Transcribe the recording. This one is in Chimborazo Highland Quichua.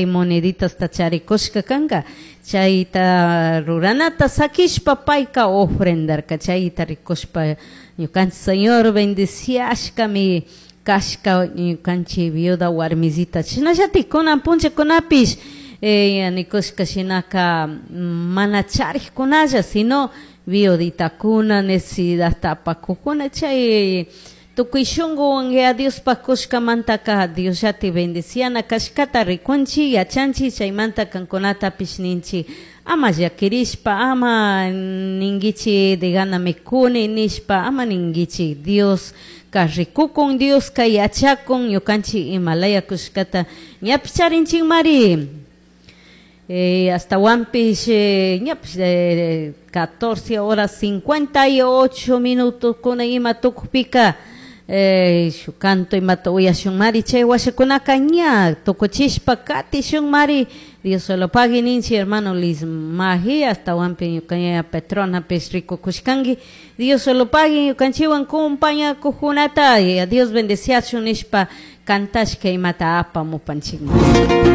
Moneditasta charikushka kanka, chayta ruranata sakishpa payka ofrendarka. Chayta rikushpa ñukanchik Señor bendiciashkami kashka ñukanchik viuda warmisita. Shinallatik kunan punllakunapish nikushka shinaka mana charikkunalla, sino viuditakuna necesidadta apakukuna, chay tukuy shunkuwan Yaya Diospaj kushkamantaka Diosllati bendiciana kashkata rikunchik, yachanchik. Chaymanta kankunatapish ninchik, ama llakirishpa, ama ninguichik degana mikuni nishpa, ama ninguichik. Dioska rikukun, Dioska yachakun ñukanchik imalaya kushkata. Ñapish charinchikmari hasta ñapish 14 horas 58 minutos kuna ima tukupika shuk canto imata uyashunmari. Chay washakunaka ña tukuchishpa katishunmari. Dios solo pagui ninchik hermano Liz Maji, hasta ñuka ñaya Petronapish rikukushkanki. Dios solo pagui ñukanchikwan compañakuqkunata, Dios bendeciachun nishpa cantashka imata apamupanchikman.